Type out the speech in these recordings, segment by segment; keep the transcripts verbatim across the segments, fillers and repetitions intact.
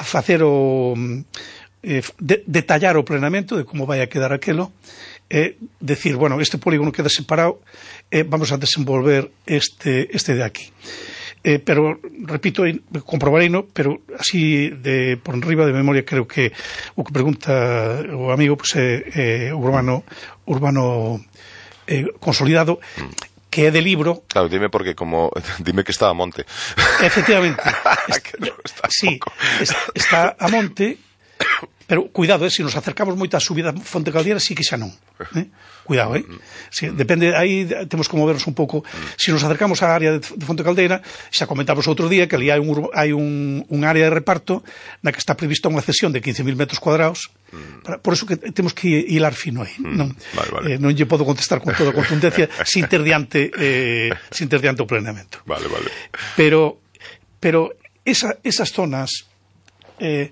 facer o eh, de, detallar o planeamento de como vai a quedar aquelo, e eh, decir, bueno, este polígono queda separado, eh, vamos a desenvolver este, este de aquí. Eh, pero, repito, comprobarei, no, pero así de por enriba de memoria creo que o que pregunta o amigo pues, é eh, eh, urbano urbano eh, consolidado, mm. que é de libro. Claro, dime porque como dime que está a monte. Efectivamente. Que no está sí, es, está a monte, pero cuidado, eh, se nos acercamos moito á subida Fonte Caldeira, sí que xa non. Eh? Cuidado, eh? Sí, depende, aí temos que movernos un pouco. Se nos acercamos á área de, de Fonte Caldeira, xa comentamos outro día que ali hai un, hai un, un área de reparto na que está prevista unha cesión de quince mil metros cuadrados. Para, por eso que temos que hilar fino aí. Mm. Non, vale, vale. Eh, non lle podo contestar con toda contundencia sin ter diante, eh, sin ter diante o planeamento. Vale, vale. Pero, pero esa, esas zonas... Eh,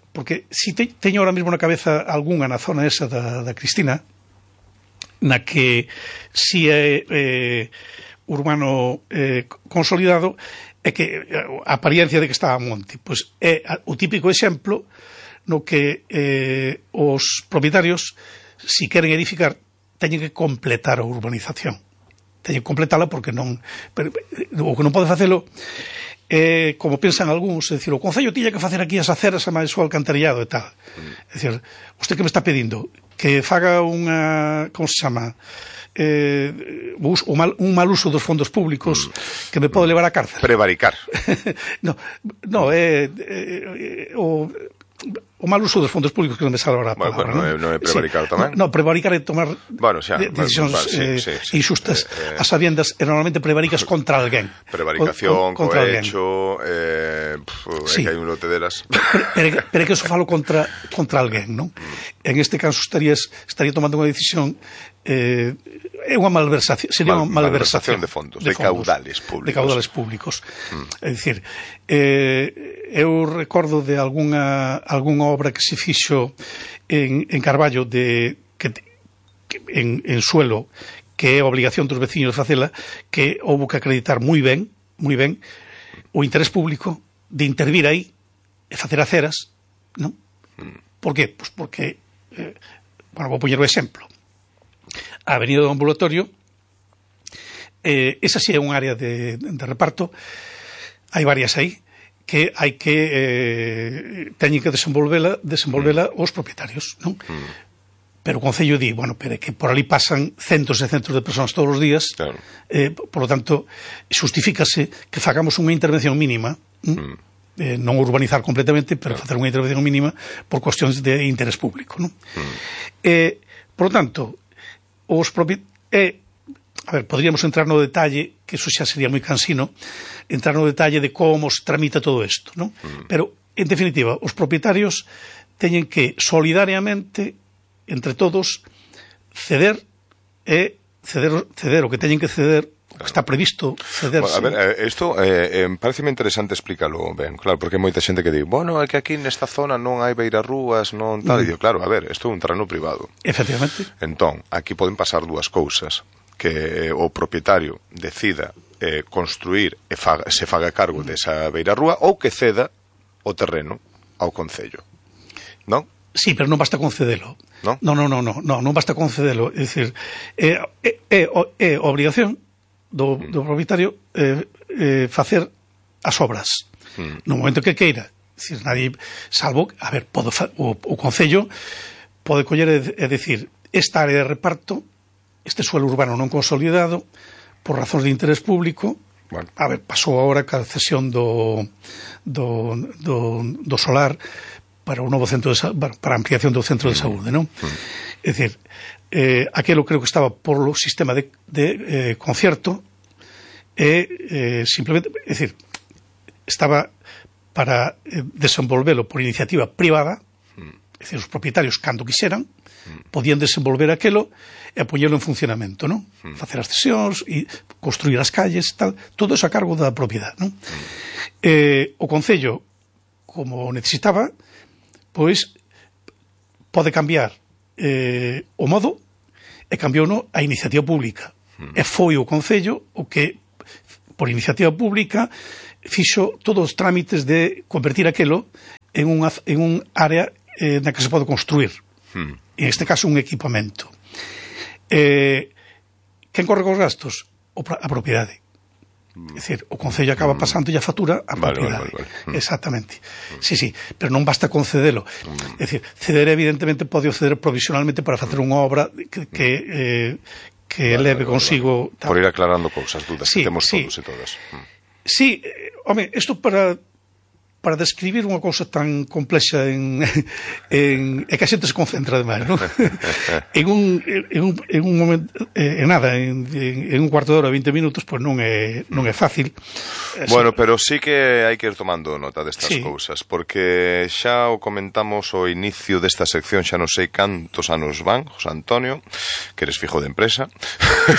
porque si te, teño ahora mesmo na cabeza algunha na zona esa da, da Cristina, na que si é eh, urbano eh, consolidado, é que a apariencia de que está a monte, pois é o típico exemplo no que eh, os propietarios, si queren edificar, teñen que completar a urbanización, teñen que completala porque non, pero, o que non pode facelo Eh, como pensan algúns, é dicir, o Concello tiña que facer aquí as aceras e máis o alcantarillado e tal. É dicir, usted que me está pedindo que faga unha, como se chama, eh, un, mal, un mal uso dos fondos públicos mm. que me pode levar á cárcel. Prevaricar. no, no, é eh, eh, o... o mal uso dos fondos públicos, que non me sale ahora a palabra. Bueno, non é prevaricar sí. tamén? No, prevaricar é tomar bueno, xa, decisións vale, sí, eh, sí, sí. injustas Eh, a sabiendas, e normalmente prevaricas contra alguén. Prevaricación, co, cohecho, eh, pf, sí. É que hai un lote delas. Pero, pero é que eso falo contra, contra alguén, non? Mm. En este caso estarías, estaría tomando unha decisión eh, é unha malversación, sería Mal, unha malversación de fondos, de, de fondos, caudales públicos. De caudales públicos. Mm. É dicir, eh, eu recordo de algunha, algunha obra que se fixo en, en Carballo de, que, que, en, en suelo, que é obligación dos veciños facela, que houbo que acreditar moi ben, moi ben, o interés público de intervir aí e facer aceras, non? Mm. Por qué? Pois porque, eh, bueno, vou poñer o exemplo. A Avenida do Ambulatorio, eh, esa sí é un área de, de reparto, hai varias aí, que hai que eh, teñen que desenvolvela, desenvolvela mm. os propietarios, non? Mm. Pero o Concello di, bueno, pero é que por ali pasan centos e centos de persoas todos os días, claro. eh, por lo tanto, justifícase que fagamos unha intervención mínima, mm. eh, non urbanizar completamente, pero claro. facer unha intervención mínima por cuestións de interés público, non? Mm. Eh, por lo tanto, os propietarios... Eh, a ver, podríamos entrar no detalle, que eso xa sería moi cansino, entrar no detalle de como se tramita todo isto, non? Mm. Pero, en definitiva, os propietarios teñen que solidariamente, entre todos, ceder e ceder, ceder o que teñen que ceder, o que está previsto cederse. Bueno, a ver, isto eh, eh, pareceme interesante explícalo ben, claro, porque hai moita xente que di, bueno, é que aquí nesta zona non hai beirarrúas, non tal, mm. e digo, claro, a ver, isto é un terreno privado. Efectivamente. Entón, aquí poden pasar dúas cousas, que o propietario decida eh, construir e faga, se faga cargo desa beirarrúa ou que ceda o terreno ao Concello, non? Sí, pero non basta concedelo. Non? Non, non, non, non, non, non basta concedelo. É dicir, é, é, é, é obrigación do, do propietario eh, eh, facer as obras. Mm. No momento que queira. É dicir, nadie, salvo, a ver, podo, o, o Concello pode coller e, e decir, esta área de reparto, este suelo urbano non consolidado, por razóns de interés público, bueno. A ver, pasou agora ca cesión do, do, do, do solar para o novo centro de, para a ampliación do centro de saúde, non? Mm. É dicir, eh, aquelo creo que estaba por o sistema de, de eh, concierto e eh, simplemente, é dicir, estaba para eh, desenvolvelo por iniciativa privada, mm. é dicir, os propietarios cando quixeran podían desenvolver aquelo e poñelo en funcionamento, non? Mm. Facer as cesións e construir as calles, tal, todo eso a cargo da propiedade, non? Mm. Eh, o Concello, como necesitaba, pois pode cambiar eh, o modo e cambiouno a iniciativa pública. Mm. E foi o Concello o que, por iniciativa pública, fixo todos os trámites de convertir aquelo en unha en un área eh, na que se pode construir. Hmm. En este caso, un equipamento. Eh, quen corre cos gastos? O, a propiedade. É dicir, o Concello acaba pasando a factura a propiedade. Vale, vale, vale. Exactamente. Sí, sí, pero non basta concedelo. É dicir, ceder evidentemente pode ceder provisionalmente para facer unha obra que, que, eh, que vale, leve vale, consigo... Vale. Por ir aclarando cousas, dudas sí, que temos sí. todos e todas. Sí, eh, home, isto para... para describir unha cousa tan complexa en, en, é que a xente se concentra demais, non? en, un, en, un, en un momento, en nada, en, en un cuarto de hora, veinte minutos, pois pues non é, non é fácil. Bueno, pero sí que hai que ir tomando nota destas sí. cousas, porque xa o comentamos ao inicio desta sección, xa non sei cantos anos van, José Antonio, que eres fijo de empresa.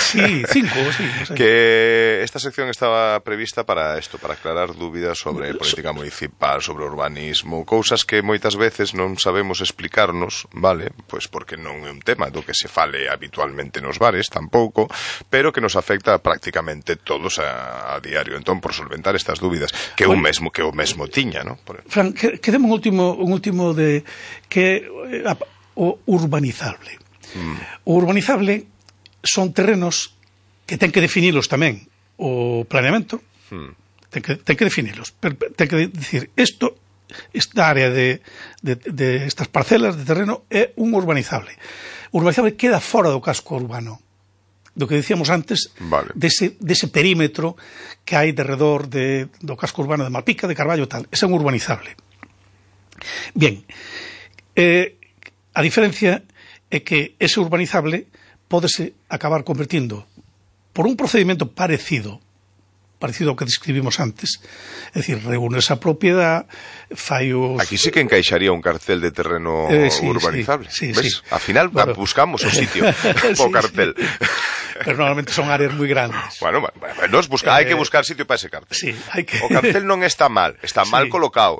Sí, cinco, sí. No sé. Que esta sección estaba prevista para isto, para aclarar dúbidas sobre política municipal, sobre urbanismo, cousas que moitas veces non sabemos explicarnos, vale, pois porque non é un tema do que se fale habitualmente nos bares, tampouco, pero que nos afecta prácticamente todos a, a diario. Entón, por solventar estas dúbidas, que bueno, un mesmo que o mesmo tiña, ¿no? Por... Fran, que, quedemos un último, un último de que eh, o urbanizable. Mm. O urbanizable son terrenos que ten que definilos tamén o planeamento. Mm. Ten que, ten que definirlos. Ten que decir, isto, esta área de, de, de estas parcelas de terreno é un urbanizable. O urbanizable queda fora do casco urbano. Do que decíamos antes, vale. dese, dese perímetro que hai de redor de, do casco urbano de Malpica, de Carballo, tal. Ese é un urbanizable. Bien, eh, a diferencia é que ese urbanizable pódese acabar convertindo por un procedimento parecido parecido ao que describimos antes. É dicir, reúne esa propiedade, fai os... Aquí sí que encaixaría un cartel de terreno eh, sí, urbanizable. Sí, sí, ¿ves? Sí. Al final bueno. buscamos o sitio sí, o cartel. Sí. Pero normalmente son áreas moi grandes. Bueno, bueno nos busca, eh, hai que buscar sitio para ese cartel. Sí, hai que... O cartel non está mal, está sí. mal colocado.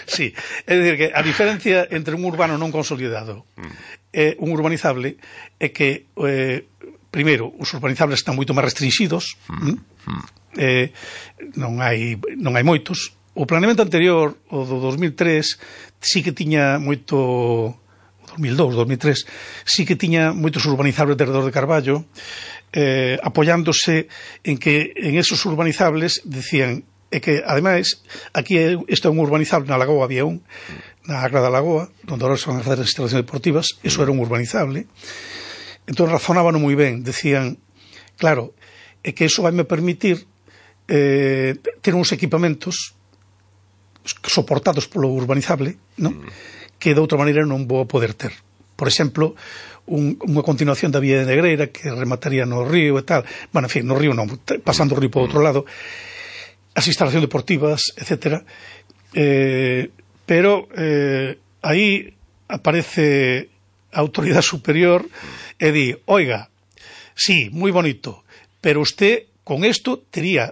Sí, é dicir que a diferencia entre un urbano non consolidado mm. e un urbanizable é que eh, primeiro, os urbanizables están moito máis restringidos, mm. Mm. Eh, non hai non hai moitos. O planeamento anterior, o do dos mil tres, sí que tiña moito, o dos mil dous, dos mil tres, sí que tiña moitos urbanizables de redor de Carballo, eh, apoiándose en que en esos urbanizables decían é que, ademais, aquí isto é un urbanizable, na Lagoa había un, na Agra da Lagoa, onde ahora son as instalacións deportivas, eso era un urbanizable. Entón razonaban moi ben, decían, claro, é que iso vai me permitir eh, ter uns equipamentos soportados polo urbanizable, non? Que de outra maneira non vou poder ter. Por exemplo, un, unha continuación da vía de Negreira que remataría no río e tal, bueno, en fin, no río non, pasando o río por outro lado, as instalacións deportivas, etcétera. Eh, pero eh, aí aparece a autoridade superior e di, oiga, sí, moi bonito, pero usted con esto tería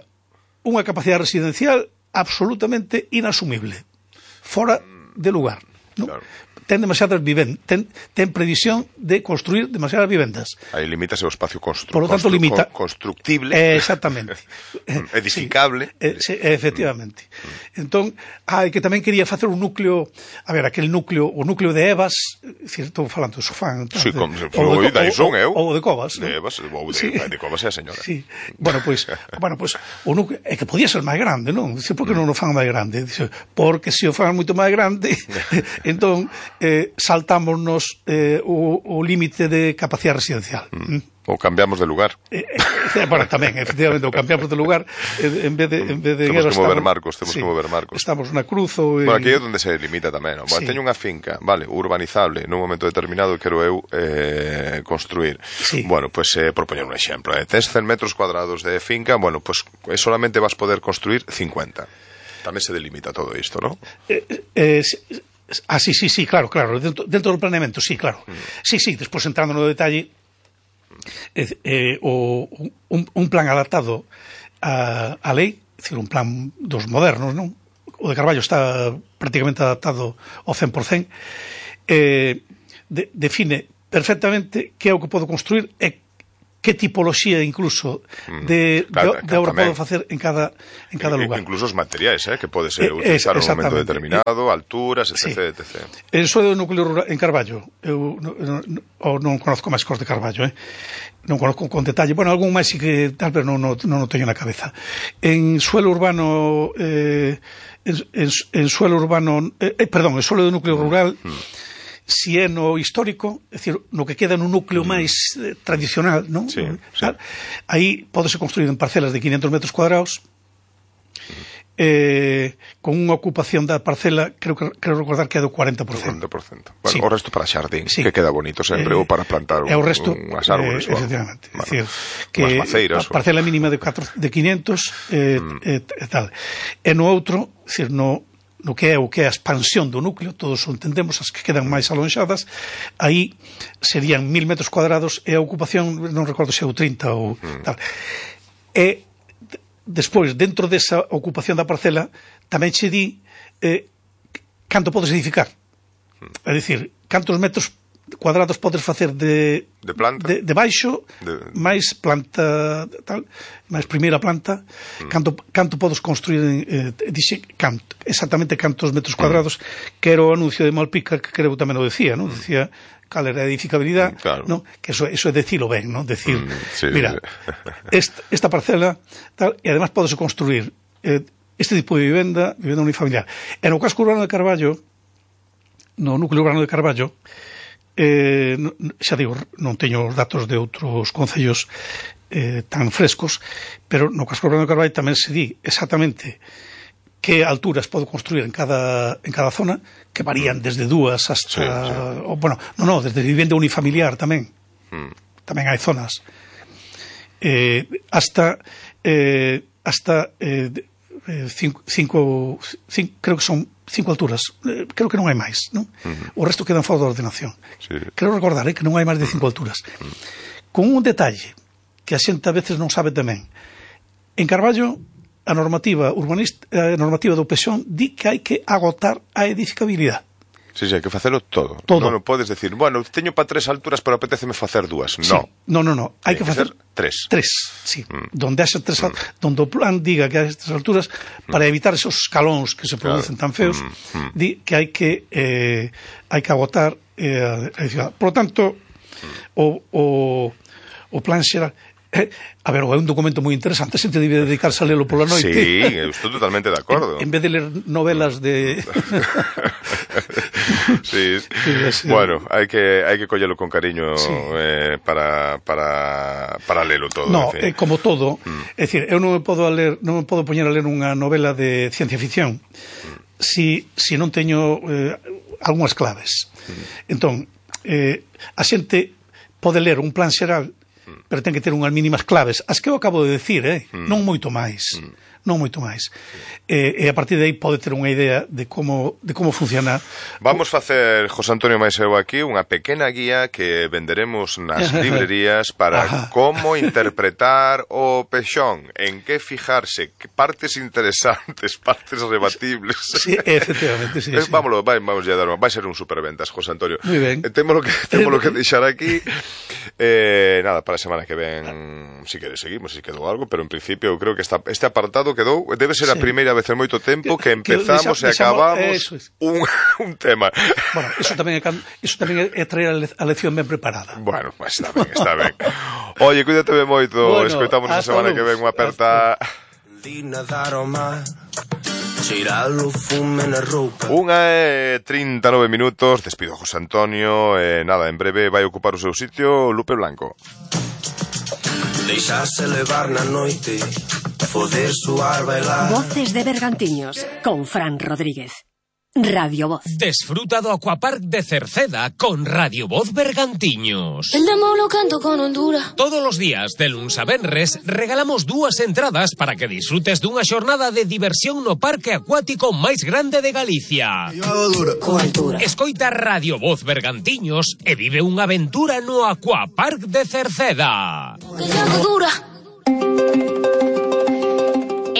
unha capacidade residencial absolutamente inasumible, fora de lugar, ¿no? Claro. Ten demasiadas vivendas, ten, ten previsión de construir demasiadas vivendas. Aí limítase o espacio constru Por lo tanto, constru limita... constructible. Eh, exactamente. Edificable. Sí, eh, sí, efectivamente. Mm. Entón, hai que tamén quería facer un núcleo, a ver, aquel núcleo, o núcleo de Evas, estou falando de Sofán, sí, de, como se foi, dai son eu. Ou de Covas. De Evas, ou de, sí. de Covas é a señora. Sí. Bueno, pois, pues, bueno, pues, o núcleo, é que podía ser máis grande, non? Dice, por que non o fan máis grande? Dice, porque se o fan moito máis grande, entón, eh, salta Nos, eh, o, o límite de capacidade residencial. Mm. Ou cambiamos de lugar. Eh, eh, bueno, tamén, efectivamente, ou cambiamos de lugar eh, en vez de... En vez de temos guerra, que mover estamos, marcos, temos sí, que mover marcos. Estamos na cruz ou... En... Bueno, aquí é onde se limita tamén, non? Bueno, sí. Teño unha finca, vale, urbanizable, nun momento determinado quero eu eh, construir. Sí. Bueno, pois pues, eh, propoñer un exemplo. Eh. Tes cen metros cuadrados de finca, bueno, pois pues, solamente vas poder construir cincuenta. Tamén se delimita todo isto, non? Eh, eh, Ah, sí, sí, sí, claro, claro, dentro, dentro do planeamento, sí, claro. Mm. Sí, sí, despois entrando no detalle, eh, eh, o, un, un plan adaptado a, a lei, é dicir, un plan dos modernos, non? O de Carballo está prácticamente adaptado ao cen por cen, eh, de, define perfectamente que é o que podo construir e que tipoloxía incluso de, claro, de, de obra pode facer en cada, en cada lugar. Incluso os materiais, eh, que pode ser Eh, utilizar es, en un momento determinado, alturas, etc, sí. etcétera. En suelo do núcleo rural en Carballo, eu non, non, non conozco máis cos de Carballo, eh? non conozco con detalle, bueno, algún máis sí que tal vez non, non, non o teño na cabeza. En suelo urbano eh, en, en, en suelo urbano eh, eh, perdón, en suelo do núcleo rural mm. si é no histórico, é dicir, no que queda no núcleo mm. máis eh, tradicional, non? Sí, sí. Aí pódese construir en parcelas de quinientos metros cuadrados mm. eh, con unha ocupación da parcela, creo que creo recordar que é do cuarenta por cento. cuarenta por cento. Bueno, sí. O resto para xardín, sí. Que queda bonito sempre, eh, ou para plantar un, o resto, unhas árboles. Eh, efectivamente. Bueno, é dicir, que maceiras, a parcela o... mínima de, cuatro, de quinientos eh, mm. eh, e tal. E no outro, dicir, no, no que é o que é a expansión do núcleo, todos o entendemos, as que quedan máis alonxadas, aí serían mil metros cuadrados e a ocupación, non recordo se é o trinta ou mm. tal. E despois, dentro desa ocupación da parcela, tamén che di eh, canto podes edificar. É dicir, cantos metros cuadrados podes facer de de planta, de, de baixo, de... máis planta tal, máis primeira planta, mm. canto canto podes construir eh, dixe canto, exactamente cantos metros cuadrados, mm. que era o anuncio de Malpica, que creo tamén o decía, non? Mm. Decía cal era a edificabilidade, claro. ¿no? Que eso, eso é decilo ben, ¿no? Decir, mm, sí, mira, sí. esta, esta parcela tal, e además podes construir eh, este tipo de vivenda, vivenda unifamiliar. En o casco urbano de Carballo, no núcleo urbano de Carballo, eh, xa digo, non teño os datos de outros concellos eh, tan frescos, pero no casco urbano de Carballo tamén se di exactamente que alturas podo construir en cada, en cada zona, que varían desde dúas hasta... Sí, sí. O, bueno, non, non, desde vivenda unifamiliar tamén. Mm. Tamén hai zonas. Eh, hasta... Eh, hasta... Eh, cinco, cinco, cinco... Creo que son cinco alturas. Eh, creo que non hai máis, non? Mm-hmm. O resto quedan fora da ordenación. Sí. Creo recordar, eh, que non hai máis de cinco alturas. Mm. Con un detalle que a xente a veces non sabe tamén. En Carballo... a normativa urbanista, a normativa do P X O N di que hai que agotar a edificabilidade. Sí, sí, hai que facelo todo. todo. Non, non podes decir, bueno, teño para tres alturas, pero apetéceme facer dúas. Sí. No. No, no, no. Hai que, que facer tres. Tres, sí. Mm. Donde haxa tres, mm. donde o plan diga que hai tres alturas, mm. para evitar esos escalóns que se producen claro. tan feos, mm. Mm. di que hai que eh, hai que agotar eh, a edificabilidade. Por lo tanto, mm. o, o, o plan xeral... Eh, a ver, é un documento moi interesante, a xente debe dedicarse a lelo pola noite. Sí, estou totalmente de acordo. En, en vez de ler novelas de... sí, sí, bueno, hai que hai que collelo con cariño sí. eh, para, para, para lelo todo. No, eh, como todo, mm. é dicir, eu non me podo a ler, non me podo poñer a ler unha novela de ciencia ficción mm. si, si non teño eh, algunhas claves. Mm. Entón, eh, a xente pode ler un plan xeral, pero ten que ter unhas mínimas claves, as que eu acabo de decir, eh? mm. non moito máis, mm. non moito máis. Eh, e a partir de aí pode ter unha idea de como, de como funciona. Vamos facer, José Antonio máis eu aquí, unha pequena guía que venderemos nas librerías para Ajá. como interpretar o P X O N, en que fijarse, que partes interesantes, partes rebatibles. Sí, efectivamente, sí. Eh, sí. Vámonos, vai, vamos a dar, vai ser un superventas, José Antonio. Muy ben. Eh, temos que, temos que deixar aquí. Eh, nada, para a semana que ven, si queres seguimos, si quedou algo, pero en principio eu creo que esta, este apartado quedou, debe ser sí. a primeira vez en moito tempo que, que empezamos que, deixa, e acabamos es. un, un tema. Bueno, eso tamén é, eso tamén é traer a lección ben preparada. Bueno, pues está ben, está ben. Oye, cuídate ben moito, bueno, escoitamos a semana luz. Que ven unha aperta. Unha e trinta e nove minutos. Despido a José Antonio e nada, en breve vai ocupar o seu sitio Lupe Blanco. Deixarse levar na noite, poder suar, bailar. Voces de Bergantiños con Fran Rodríguez. Radio Voz. Desfruta do Aquapark de Cerceda con Radio Voz Bergantiños. El demo lo canto con Honduras. Todos los días, de luns a venres, regalamos dúas entradas para que disfrutes dunha xornada de diversión no parque acuático máis grande de Galicia. Coaltura. Escoita Radio Voz Bergantiños e vive unha aventura no Aquapark de Cerceda. Que llamo dura.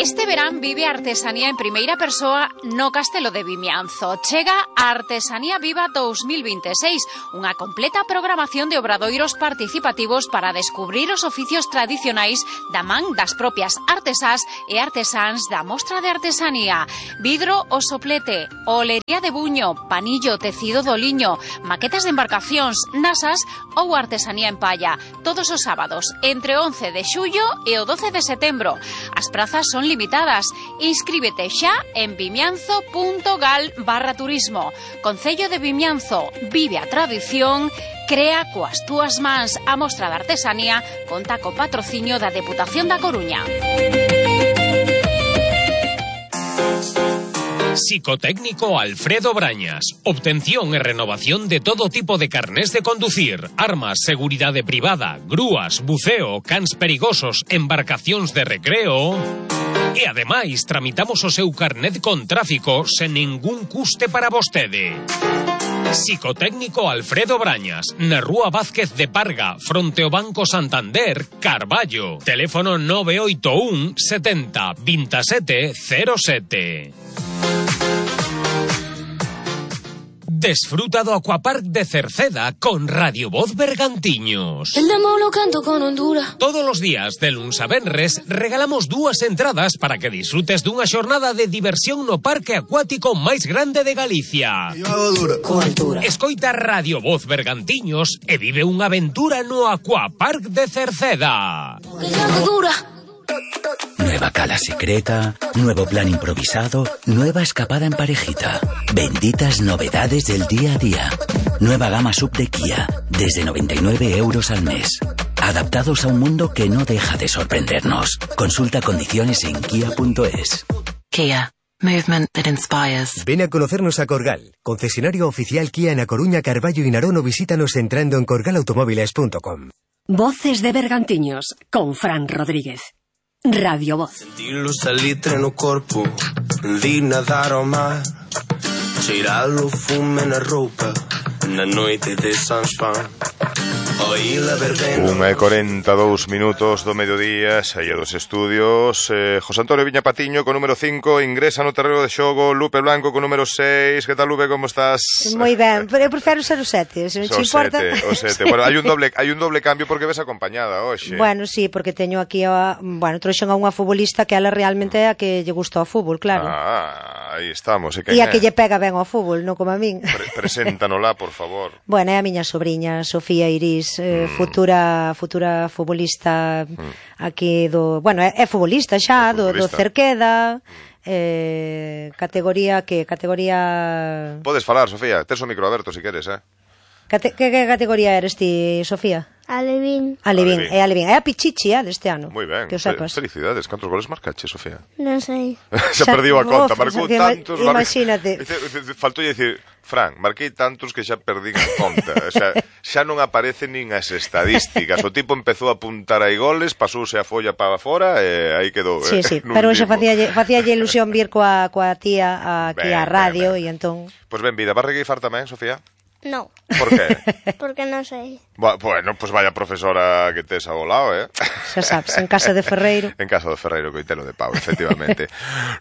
Este verán vive a artesanía en primeira persoa no Castelo de Vimianzo. Chega a Artesanía Viva dous mil vinte e seis, unha completa programación de obradoiros participativos para descubrir os oficios tradicionais da man das propias artesás e artesáns da Mostra de Artesanía. Vidro o soplete, olería de buño, panillo, tecido do liño, maquetas de embarcacións, nasas ou artesanía en palla. Todos os sábados, entre o once de xullo e o doce de setembro. As prazas son limitadas. Inscríbete xa en vimianzo punto gal barra turismo. Concello de Vimianzo, vive a tradición, crea coas túas mans. A Mostra de Artesanía conta co patrocinio da Deputación da Coruña. Psicotécnico Alfredo Brañas. Obtención e renovación de todo tipo de carnés de conducir, armas, seguridade privada, grúas, buceo, cans perigosos, embarcacións de recreo. E ademais tramitamos o seu carnet con tráfico sen ningún custe para vostede. Psicotécnico Alfredo Brañas, na Rúa Vázquez de Parga, fronte ao Banco Santander, Carballo. Teléfono nove oito un setenta veintisiete cero sete. Desfruta do Aquapark de Cerceda con Radio Voz Bergantiños. El demo lo canto con Honduras. Todos os días, de luns a venres, regalamos dúas entradas para que disfrutes dunha xornada de diversión no parque acuático máis grande de Galicia. Con altura. Escoita Radio Voz Bergantiños e vive unha aventura no Aquapark de Cerceda. Que llame dura. Nueva cala secreta, nuevo plan improvisado, nueva escapada en parejita. Benditas novedades del día a día. Nueva gama sub de Kia, desde noventa y nueve euros al mes. Adaptados a un mundo que no deja de sorprendernos. Consulta condiciones en kia punto es. Kia. Movement that inspires. Ven a conocernos a Corgal, concesionario oficial Kia en A Coruña, Carballo y Narón, o visítanos entrando en corgal automóviles punto com. Voces de Bergantiños, con Fran Rodríguez. Radio Voz. Sentir o salitre no corpo, vir nadar ao mar, cheirar o fume na roupa, na noite de San Juan. Unha e corenta e dous minutos do mediodía, saía dos estudios. eh, José Antonio Viña Patiño con número cinco, ingresa no terreno de xogo Lupe Blanco con número seis. Que tal, Lupe, como estás? Moi ben, pero eu prefiro ser o sete, se non te importa. O sete, bueno, hai un doble hai un doble cambio porque ves acompañada hoxe. Bueno, sí, porque teño aquí a, bueno, trouxen a unha futbolista que ela realmente é a que lle gusta o fútbol, claro. Ah, aí estamos. E a que lle pega ben ao fútbol, non como a min. Pre Preséntanola, por favor. Bueno, é a miña sobrinha, Sofía Iris, eh, mm. futura futura futbolista mm. aquí do, bueno, é, é futbolista xa, é futbolista. do, do Cerqueda. Eh, categoría que categoría Podes falar, Sofía, tes o micro aberto se si queres, eh. Cate que, que categoría eres ti, Sofía? Alevín. Alevín, é Alevín. É a Pichichi, eh, deste ano. Moi ben, que o sepas. Felicidades. Cantos goles marcache, Sofía? Non sei. Xa perdiu a conta, marcou tantos. Imagínate. Faltou dicir, Fran, marquei tantos que xa perdín a conta. O sea, xa non aparecen nin as estadísticas. O tipo empezou a apuntar aí goles, pasouse a folla para fora e aí quedou. Sí, sí, pero xa facía ilusión vir coa, coa tía aquí á radio e entón... Pois ben, vida, vas regueifar tamén, Sofía? No. Por qué? Porque non sei. Bueno, pues vaya profesora que tes ao lado, eh? Xa sabes, en casa de Ferreiro. En casa de Ferreiro, coitelo de pau, efectivamente.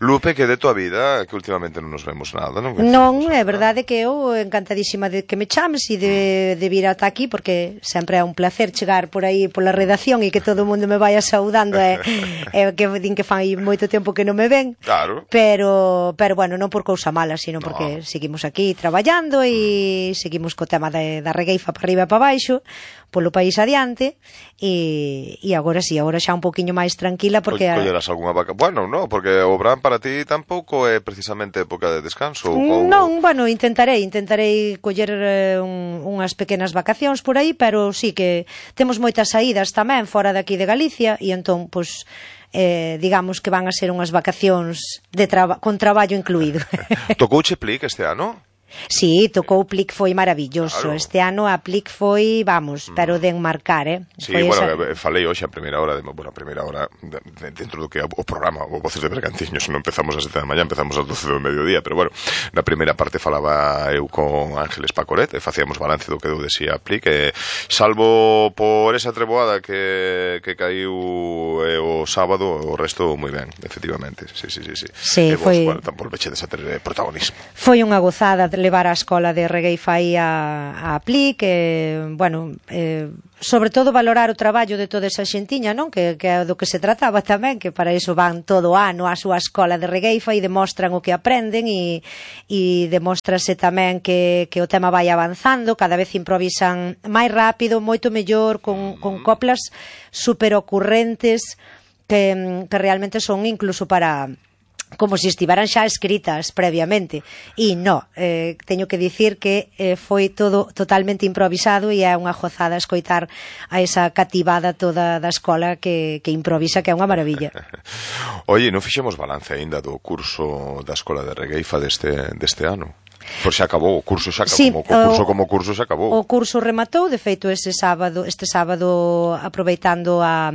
Lupe, que de tua vida, que últimamente non nos vemos nada, non? Non, é verdade que eu encantadísima de que me chames e de, de vir ata aquí, porque sempre é un placer chegar por aí pola redacción e que todo o mundo me vaya saudando, e, e que din que fai moito tempo que non me ven. Claro. Pero, pero bueno, non por cousa mala, sino porque no. seguimos aquí traballando e seguimos seguimos co tema de, da regueifa para arriba e para baixo, polo país adiante, e, e agora sí, agora xa un poquinho máis tranquila, porque... Collerás algunha vaca... Bueno, no, porque o verán para ti tampouco é precisamente época de descanso. Ou... Non, bueno, intentarei, intentarei coller eh, un, unhas pequenas vacacións por aí, pero sí que temos moitas saídas tamén fora de aquí de Galicia, e entón, pois... Eh, digamos que van a ser unhas vacacións de traba con traballo incluído. Tocouche Plic este ano? Sí, tocou o Plic, foi maravilloso. Claro. Este ano a Plic foi, vamos, pero de enmarcar, eh? Sí, foi bueno, esa... falei hoxe a primeira hora, de, bueno, a primeira hora de, de, dentro do que é o programa, o Voces de Bergantiños, non empezamos a sete da mañá, empezamos a doce do mediodía, pero bueno, na primeira parte falaba eu con Ángeles Pacoret, e facíamos balance do que deu de si a Plic, e salvo por esa treboada que, que caiu eh, o sábado, o resto moi ben, efectivamente, sí, sí, sí, sí. Sí, e vos, foi... bueno, tampouco vechedes a ter protagonismo. Foi unha gozada levar a escola de Regueifa aí a, a Plic, e, bueno, eh, sobre todo valorar o traballo de toda esa xentiña, non? Que, que é do que se trataba tamén, que para iso van todo o ano á súa escola de Regueifa e demostran o que aprenden e, e demóstrase tamén que, que o tema vai avanzando, cada vez improvisan máis rápido, moito mellor, con, con coplas super ocurrentes que, que realmente son incluso para... como se estiveran xa escritas previamente, e non, eh, teño que dicir que eh, foi todo totalmente improvisado e é unha gozada escoitar a esa cativada toda da escola que, que improvisa, que é unha maravilla. Oye, non fixemos balance aínda do curso da escola de Regueifa deste, deste ano? Pois xa acabou, o curso xa acabou, sí, o curso como curso xa acabou. O curso rematou, de feito, ese sábado, este sábado, aproveitando a...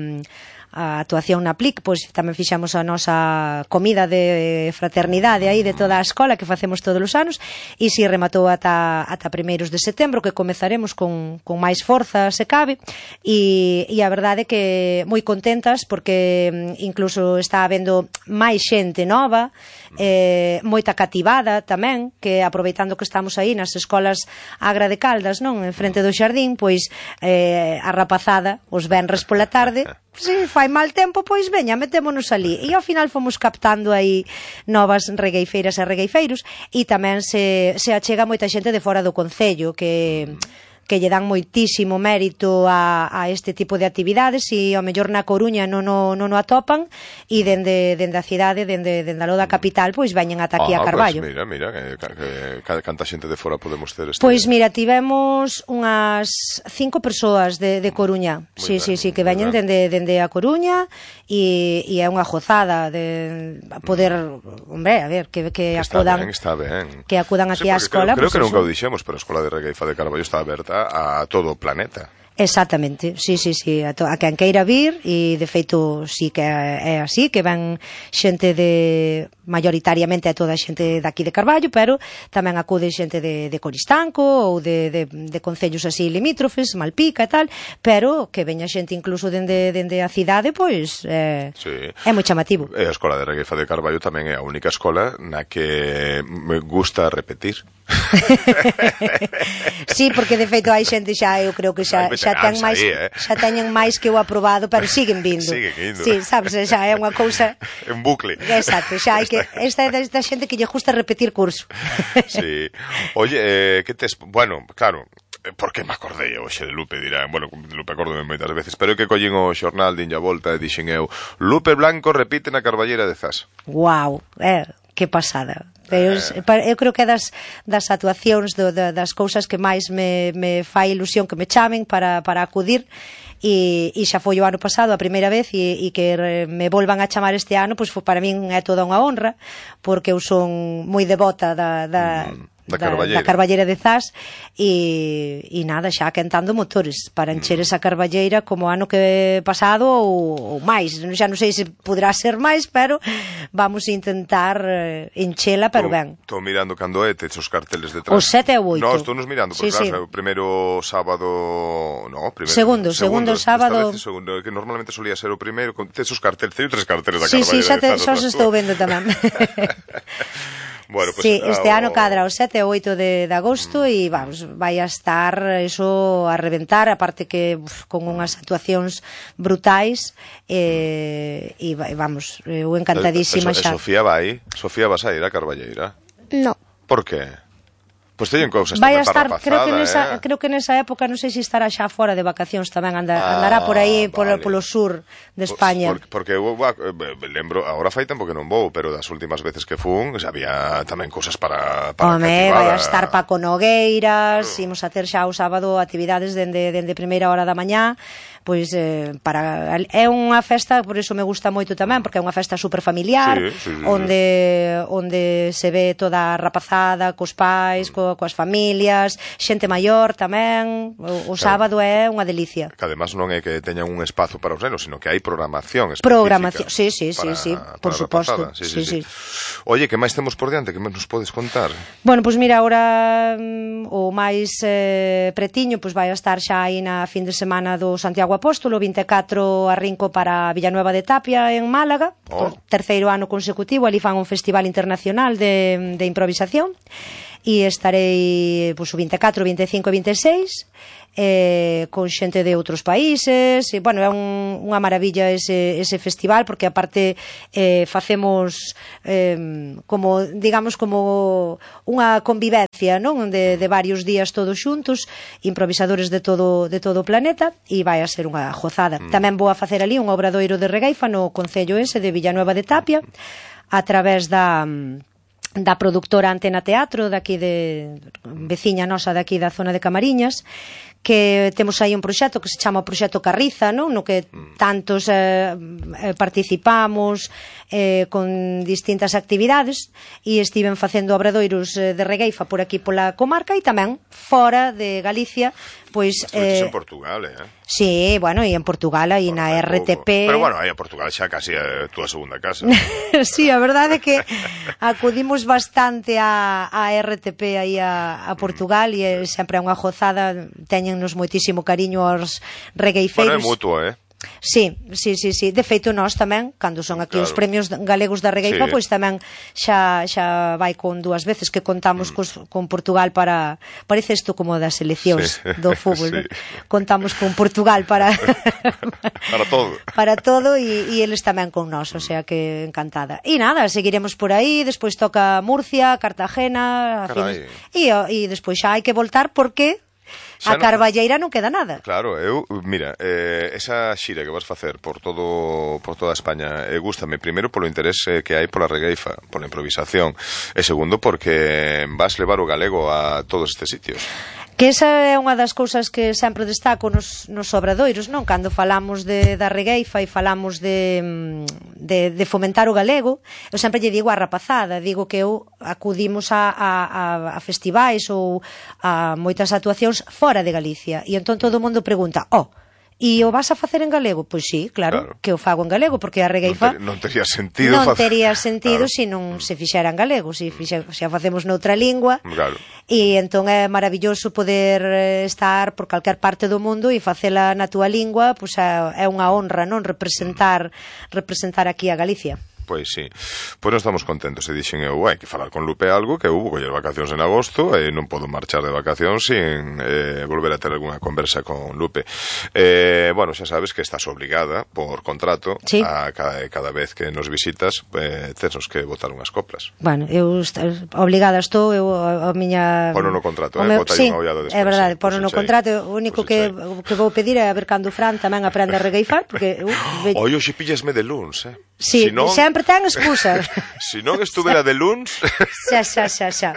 a actuación na Plic, pois tamén fixamos a nosa comida de fraternidade aí de toda a escola que facemos todos os anos, e si rematou ata, ata primeiros de setembro, que comezaremos con, con máis forza se cabe, e, e a verdade é que moi contentas porque incluso está habendo máis xente nova, eh, moita cativada tamén, que aproveitando que estamos aí nas escolas Agra de Caldas, non, en frente do xardín, pois eh, a rapazada os venres pola tarde, si fai mal tempo, pois veña, metémonos ali. E ao final fomos captando aí novas regueifeiras e regueifeiros, e tamén se, se achega moita xente de fora do concello que... que lle dan moitísimo mérito a, a este tipo de actividades, e ao mellor na Coruña non o, non o atopan, e dende, dende a cidade, dende, dende a Loda capital, pois veñen ata aquí ah, a Carballo. Pues mira, mira, que, que, que canta xente de fora podemos ter este... Pois mira, tivemos unhas cinco persoas de, de Coruña, sí, sí, sí, que veñen dende, dende a Coruña, e, e é unha gozada de poder, hombre, a ver, que, que acudan, está ben, está ben. que acudan aquí sí, á escola. Creo, creo pues que nunca o dixemos, pero a Escola de Regueifa de Carballo está aberta a todo o planeta. Exactamente, sí, sí, sí, a, to, a quen queira vir, e de feito sí que é así, que ven xente de, maioritariamente é toda xente daqui de Carballo, pero tamén acude xente de, de Coristanco ou de, de, de concellos así limítrofes, Malpica e tal, pero que veña xente incluso dende, dende a cidade, pois é, sí. É moi chamativo. E a Escola de Regueifa de Carballo tamén é a única escola na que me gusta repetir. Sí, porque de feito hai xente xa, eu creo que xa, xa ten máis, aí, eh? xa teñen máis que o aprobado, pero siguen vindo. Siguen indo. Sí, sabes, xa é unha cousa en bucle. Exacto, xa hai que esta é desta xente que lle gusta repetir curso. Sí. Oye, eh, que tes, bueno, claro, por que me acordei hoxe de Lupe, dirán, bueno, Lupe acordome moitas veces, pero é que collín o xornal, dinlle a volta e dixen eu, Lupe Blanco repite na Carballera de Zas. Guau, eh, que pasada. Eu, eu creo que é das, das actuacións do, das cousas que máis me, me fai ilusión que me chamen para, para acudir, e, e xa foi o ano pasado a primeira vez, e, e que me volvan a chamar este ano, pois para min é toda unha honra, porque eu son moi devota da, da, da, da, da Carballera de Zas, e, e nada, xa quentando motores para encher esa Carballeira como ano que pasado ou, ou máis, xa non sei se poderá ser máis, pero vamos a intentar enchela, pero ben. Estou mirando cando é, tes os carteles detrás. Os sete e o oito. No, estou nos mirando, porque sí, claro, sí. O primeiro sábado, no, primeiro, segundo, segundo, segundo sábado. Vez, segundo, que normalmente solía ser o primeiro, tes os carteles, teño tres carteles da sí, Carballera. Sí, sí, xa, te, xa os estou vendo tamén. Bueno, pues, sí, este ah, ano cadra o sete e o oito de, de agosto, e vamos, vai a estar eso a reventar, aparte que uf, con unhas actuacións brutais, e, e vamos, eu encantadísima eso, xa. Sofía vai, Sofía vas a ir a Carballeira? No. Por que? Pois teñen cousas vai tamén a estar, para creo que nesa, eh? creo que nesa época non sei se estará xa fora de vacacións tamén, anda, ah, andará por aí vale. polo, polo sur de España. Por, porque eu lembro, agora fai tempo que non vou, pero das últimas veces que fun, xa había tamén cousas para, para Home, cativada. vai a estar Paco Nogueiras, claro. Imos a ter xa o sábado actividades dende, dende primeira hora da mañá, pois eh, para é unha festa, por iso me gusta moito tamén, porque é unha festa super familiar, sí, sí, sí, onde onde se ve toda a rapazada cos pais, co, coas familias, xente maior tamén. O, o sábado é unha delicia. Que además non é que teñan un espazo para os nenos, sino que hai programación específica. Programación, sí, sí, sí, sí, por suposto. Sí, sí, sí. Oye, que máis temos por diante? Que nos podes contar? Bueno, pois mira, agora o máis eh, pretiño pois vai a estar xa aí na fin de semana do Santiago Apóstolo, vinte e catro arrinco para Villanueva de Tapia en Málaga, oh. por terceiro ano consecutivo, ali fan un festival internacional de, de improvisación, e estarei pois, o vinte e catro, vinte e cinco e vinte e seis eh, con xente de outros países, e, bueno, é un, unha maravilla ese, ese festival, porque aparte eh, facemos eh, como, digamos, como unha convivencia, non? De, de varios días todos xuntos, improvisadores de todo, de todo o planeta, e vai a ser unha gozada. Mm. Tamén vou a facer ali un obradoiro de regueifa no concello ese de Villanueva de Tapia, a través da da productora Antena Teatro, daqui de veciña nosa daqui da zona de Camariñas, que temos aí un proxecto que se chama o Proxecto Carriza, non? No que tantos eh, participamos eh, con distintas actividades, e estiven facendo obradoiros de regueifa por aquí pola comarca, e tamén fora de Galicia, pois eh, en Portugal, eh? Sí, bueno, e en Portugal e na R T P. Pero bueno, aí en Portugal xa casi é a túa segunda casa. Sí, a verdade é que acudimos bastante a, a R T P aí a, a Portugal, e sempre é unha gozada, teñennos moitísimo cariño aos regueifeiros. Bueno, é mutuo, eh? Sí, sí, sí, sí. De feito, nós tamén, cando son aquí claro. Os premios galegos da regueifa, sí. Pois tamén xa xa vai con dúas veces que contamos mm. cos, con Portugal para... Parece isto como das seleccións sí. Do fútbol, sí. ¿No? Contamos con Portugal para... para todo. Para todo, e, e eles tamén con nós, o sea que encantada. E nada, seguiremos por aí, despois toca Murcia, Cartagena... Fin, e, e despois xa hai que voltar porque... A Carballeira non queda nada. Claro, eu, mira, eh, esa xira que vas facer por todo por toda España, eh, gústame primeiro polo interés eh, que hai pola regueifa, pola improvisación, e segundo porque vas levar o galego a todos estes sitios. Que esa é unha das cousas que sempre destaco nos, nos obradoiros, non? Cando falamos de, da regueifa e falamos de, de, de fomentar o galego, eu sempre lle digo a rapazada, digo que eu acudimos a, a, a festivais ou a moitas actuacións fora de Galicia, e entón todo o mundo pregunta, oh, e o vas a facer en galego? Pois sí, claro, claro, que o fago en galego, porque a regueifa non, ter, non tería sentido non facer... tería sentido claro. Se non se fixera en galego, se, fixe, se a facemos noutra lingua, claro. E entón é maravilloso poder estar por calquer parte do mundo e facela na túa lingua, pois é unha honra, non, representar representar aquí a Galicia. Pois sí, pois non estamos contentos, e dixen eu, hai que falar con Lupe algo, que hubo coller vacacións en agosto e non podo marchar de vacacións sin eh, volver a ter algunha conversa con Lupe. Eh, bueno, xa sabes que estás obligada por contrato sí. a cada, cada vez que nos visitas eh, tenos que botar unhas coplas. Bueno, eu obligada estou, eu a, a miña... Pono no contrato, eh, botar sí, unha ollada despois. É verdade, pono no contrato, o único que, que vou pedir é a ver cando Fran tamén aprende a regueifar, porque... Uh, ve... Oi, hoxe pillasme de luns, eh? Sí, si non... sempre ten excusas. Se si non estuve de luns... Xa, xa, xa, xa.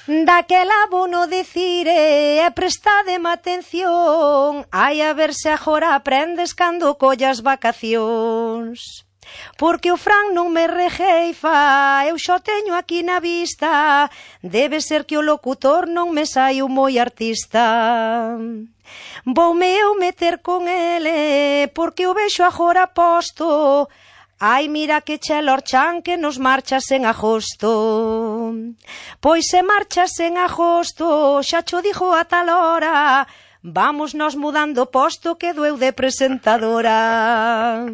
Daquela abono dicire e prestademe atención, ai a ver se agora aprendes cando collas vacacións. Porque o Fran non me regueifa, eu xo teño aquí na vista, debe ser que o locutor non me saiu moi artista. Voume eu meter con ele, porque o vexo agora posto, ai mira que chelor chan que nos marchas en agosto. Pois se marchas en agosto, xa cho dixo a tal hora, vamos nos mudando posto que doeu de presentadora.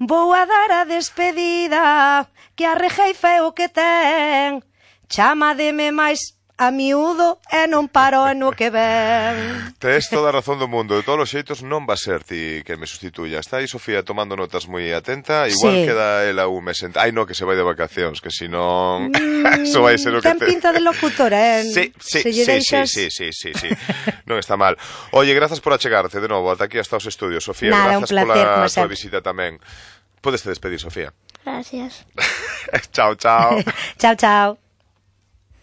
Vou a dar a despedida, que a regueifa é o que ten, chamademe máis a miúdo e non paro no que ven. Tes toda a razón do mundo. De todos os xeitos non va a ser ti que me sustituya. Está aí Sofía tomando notas moi atenta. Igual sí. Queda ela un mes en... Ai, no, que se vai de vacacións, que si non... Mm, eso vai ser o que ten te... pinta de locutora, eh? Sí, sí, se sí, deixas... sí, sí, sí, sí, sí. Non está mal. Oye, grazas por achegarte de novo ata aquí hasta os estudios, Sofía. Nada, grazas un placer, pola tua visita tamén. Podes te despedir, Sofía. Gracias. Chao, chao. Chao, chao.